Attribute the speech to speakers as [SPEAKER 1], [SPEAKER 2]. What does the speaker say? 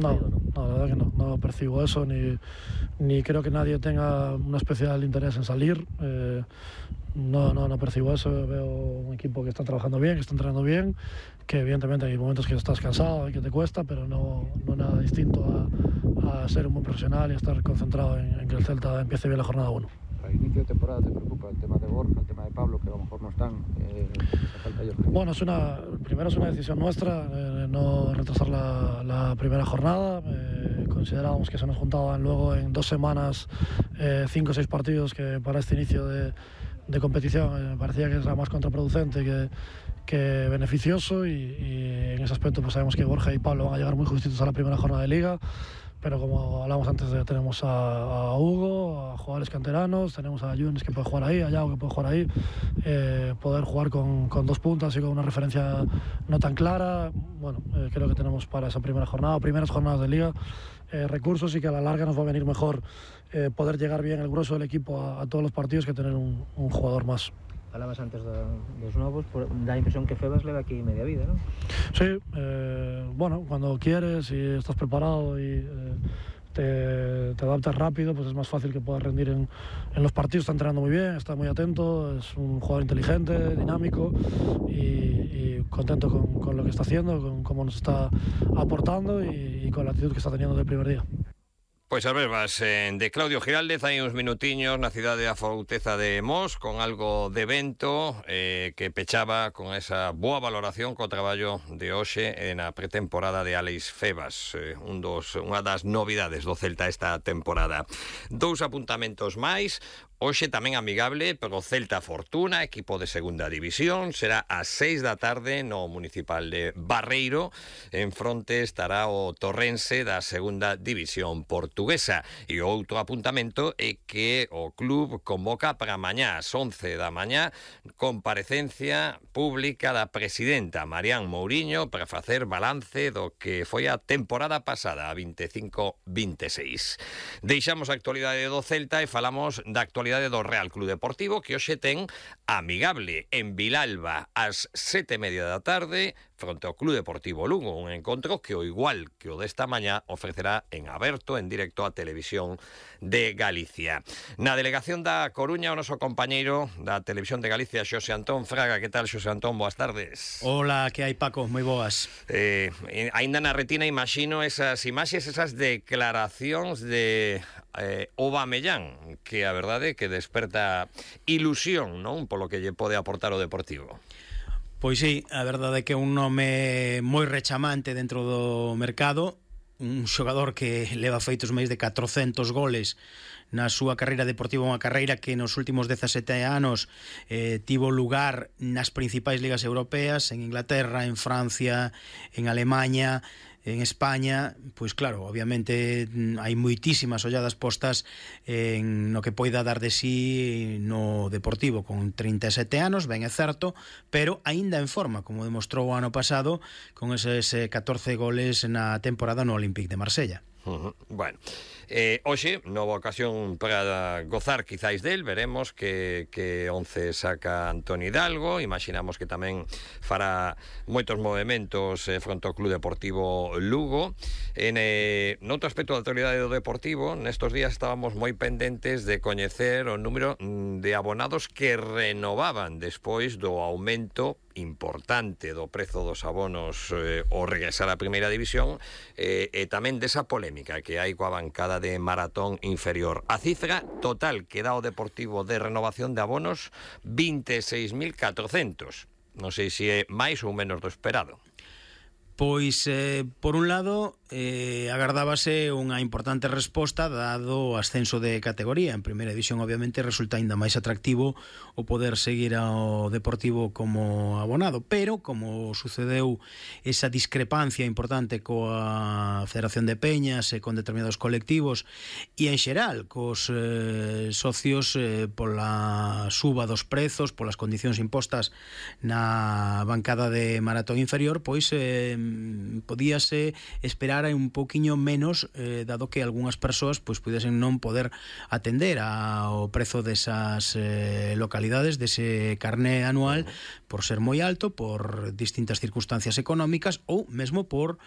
[SPEAKER 1] No, la verdad que no percibo eso, ni creo que nadie tenga un especial interés en salir. No percibo eso. Veo un equipo que está trabajando bien, que está entrenando bien, que evidentemente hay momentos que estás cansado y que te cuesta, pero no nada distinto a ser un buen profesional y estar concentrado en que el Celta empiece bien la jornada 1.
[SPEAKER 2] Para el inicio de temporada, ¿te preocupa el tema de Borja, el tema de Pablo, que a lo mejor no están?
[SPEAKER 1] Bueno, primero es una decisión nuestra, no retrasar la primera jornada. Considerábamos que se nos juntaban luego en 2 semanas 5 o 6 partidos, que para este inicio de competición me parecía que era más contraproducente que beneficioso, y en ese aspecto pues sabemos que Borja y Pablo van a llegar muy justitos a la primera jornada de Liga. Pero como hablamos antes, tenemos a Hugo, a jugadores canteranos, tenemos a Yunes que puede jugar ahí, a Yago que puede jugar ahí. Poder jugar con 2 puntas y con una referencia no tan clara, bueno, creo que tenemos para esa primera jornada, primeras jornadas de Liga, recursos, y que a la larga nos va a venir mejor poder llegar bien el grueso del equipo a todos los partidos que tener un jugador más.
[SPEAKER 3] Hablabas antes dos novos, da a impresión que Febas leva aquí media vida, ¿no?
[SPEAKER 1] Sí, bueno, cuando quieres y estás preparado y te adaptas rápido, pues es más fácil que puedas rendir en los partidos. Está entrenando muy bien, está muy atento, es un jugador inteligente, dinámico, y contento con lo que está haciendo, con cómo nos está aportando y con la actitud que está teniendo del primer día.
[SPEAKER 4] Pois as verbas de Claudio Giraldez hai uns minutiños na cidade da Forteza de Mos, con algo de vento, que pechaba con esa boa valoración co traballo de hoxe na pretemporada de Alex Febas, unha das novidades do Celta esta temporada. 2 apuntamentos máis. Hoxe tamén amigable pero Celta Fortuna, equipo de segunda división. Será ás 6 da tarde no municipal de Barreiro. En fronte estará o Torrense da segunda división portuguesa. E outro apuntamento é que o club convoca para mañá ás 11 da mañá comparecencia pública da presidenta Marián Mouriño para facer balance do que foi a temporada pasada, a 25-26. Deixamos a actualidade do Celta e falamos da actualidade do Real Club Deportivo, que hoxe ten amigable en Vilalba ás 7:30 da tarde fronte ao Club Deportivo Lugo, un encontro que, ao igual que o desta mañá, ofrecerá en aberto, en directo, a Televisión de Galicia. Na delegación da Coruña, o noso compañeiro da Televisión de Galicia, Xosé Antón Fraga. Que tal, Xosé Antón? Boas tardes.
[SPEAKER 5] Hola, que hai, Paco? Moi boas.
[SPEAKER 4] Ainda na retina imagino esas imaxes, esas declaracións de Aubameyang, que a verdade é que desperta ilusión, non? Polo que lle pode aportar o Deportivo.
[SPEAKER 5] Pois sí, a verdade é que é un nome moi rechamante dentro do mercado, un xogador que leva feitos máis de 400 goles na súa carreira deportiva, unha carreira que nos últimos 17 anos tivo lugar nas principais ligas europeas, en Inglaterra, en Francia, en Alemanha, en España. Pois claro, obviamente hai moitísimas olladas postas en no que poida dar de sí no Deportivo, con 37 anos, ben é certo, pero aínda en forma, como demostrou o ano pasado con eses 14 goles na temporada no Olympique de Marsella.
[SPEAKER 4] Bueno, hoxe, nova ocasión para gozar quizáis del. Veremos que 11 saca Antoni Hidalgo. Imaginamos que tamén fará moitos movimentos fronte ao Club Deportivo Lugo. Noutro aspecto da actualidade do Deportivo, nestos días estábamos moi pendentes de coñecer o número de abonados que renovaban despois do aumento importante do prezo dos abonos ao regresar á primeira división, e tamén desa polémica que hai coa bancada de Maratón inferior. A cifra total que dá o Deportivo de renovación de abonos, 26.400. Non sei se é máis ou menos do esperado.
[SPEAKER 5] Pois, por un lado, agardábase unha importante resposta dado o ascenso de categoría. En primeira división, obviamente, resulta ainda máis atractivo o poder seguir ao Deportivo como abonado, pero como sucedeu esa discrepancia importante coa Federación de Peñas e con determinados colectivos e en xeral cos socios pola suba dos prezos, polas condicións impostas na bancada de Maratón inferior, pois podíase esperar un pouquiño menos, dado que algunhas persoas pois pudesen non poder atender ao prezo desas localidades, dese carné anual, por ser moi alto, por distintas circunstancias económicas ou mesmo por